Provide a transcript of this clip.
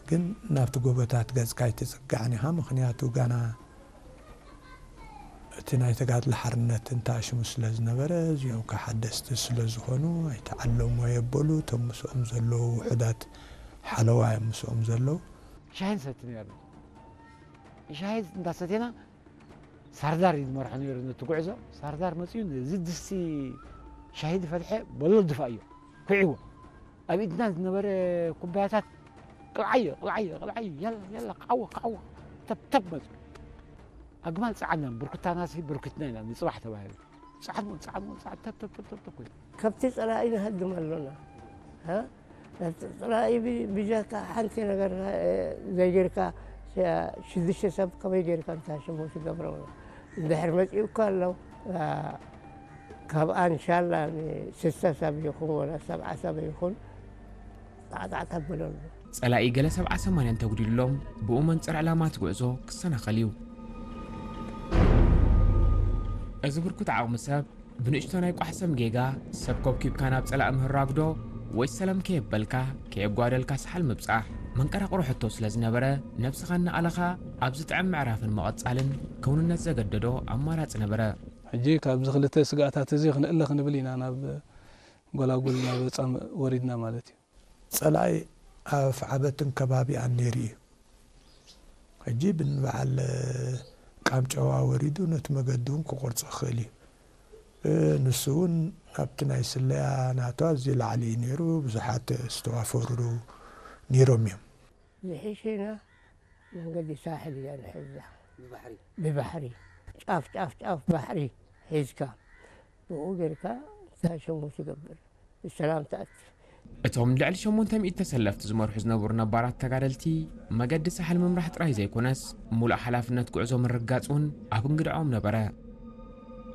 ግን ናብቲ ጎቦታት ገጽካ ኣይትጽጋዕን ኢኻ። ምኽንያቱ ጋና እቲ ናይ ተጋድሎ ሓርነት እንተኣሽሙ ስለ ዝነበረ፣ እዚኦም ከ ሓደስቲ ስለ ዝኾኑ ኣይተዓለሙ ኣየበሉ። እቶም ምስኦም ዘለዉ ውሑዳት ሓለዋ እዮም ምስኦም ዘለዉ። ሻሂ ንሰቲ ነርና። ሻሂ እንዳሰቴና ሳርዳር እዩ ዝመርሖ ነይሩ ነቲ ጉዕዞ። ሳርዳር መፅኡ ነዚ ድስቲ ሻሂ ዝፈትሐ በሎ ድፋእዮ ኩዒዎ። ኣብ ኢድና ዝነበረ ኩባያታት ቅብዓዮ ቅብዓዮ ቅብዓዮ ያላ ያላ ክዓወ ክዓወ ተብተብ መፁ። ኣግማል ፀዓና ብርኩታናሲ ብርኩትና ኢና ንፅባሕ ተባሂሉ። ፃዕድሞ ፃዕድሞ ፃዕድ ተብተብተብተብ ኮይኑ ከብቲ ፀላኢ ንሃድም ኣሎና። እ? ነቲ ፀላኢ ብ- ብጀካ ሓንቲ ነገር እ፣ ዘይጌርካ ሸ- ሽዱሽተ ሰብ ከመይ ጌርካ እንታይ ሽሙ ትገብሮ? እንድሕር መፂኡካ ኣሎ እ፣ ካብኣ እንሻላ ንስሳ ሰብ ይኹን ወላ ሰብዓ ሰብ ይኹን ጣዕጣዕ ተብለሉ። ጸላኢ ገለ ሰብዓ ሰማንያ እንተጉዲሉሎም ብኡ መንጽር ዕላማ እቲ ጉዕዞ ክሰናኸል እዩ። እዚ ብርኩት ዓቕሚ ሰብ ብንእሽቶ ናይ ቋሕሰም ጌጋ ሰብ ኮብኪብካ ናብ ጸላኢ ምህራግዶ ወይ ሰላም ከየበልካ ከየጓደልካ ሰሓል ምብጻሕ መንቀራቕሮ ሕቶ ስለ ዝነበረ ነብስኻ እናኣለኻ ኣብ ዝጥዕም ምዕራፍን ምቕጻልን ክውንነት ዘገደዶ ኣማራጺ ነበረ። ሕጂ ካብዚ ክልተ ስግኣታት እዚ ክንእለ ክንብል ኢና ናብ ጎላጉል ናብ ጻምእ ወሪድና ማለት እዩ። ጸላኢ ኣፍ ዓበትን ከባቢኣን ነይሩ እዩ። ሕጂ ብንበዓል ቃምጨዋ ወሪዱ ነቲ መገዲ እውን ክቆርጾ ይኽእል እዩ። ንሱ እውን ኣብቲ ናይ ስለያ ናቱ ኣዝዩ ላዕሊ እዩ ነይሩ። ብዙሓት ዝተዋፈሩ ነይሮም እዮም። ዝሒሽና መንገዲ ሳሕል እያ ንሕዛ ብባሕሪ ጫፍ ጫፍ ጫፍ ባሕሪ ሒዝካ ብኡ ጌርካ እንታይ ሽሙ ትገብር ብሰላም ትኣቲ። እቶም ልዕሊ ሸሞንተ ሚእቲ ተሰለፍቲ ዝመርሑ ዝነበሩ ነባራት ተጋደልቲ፣ መገዲ ሳሕል ምምራሕ ጥራይ ዘይኮነስ፣ ሙሉእ ሓላፍነት ጉዕዞ ምርግጋጽ እውን ኣብ እንግድዖም ነበረ።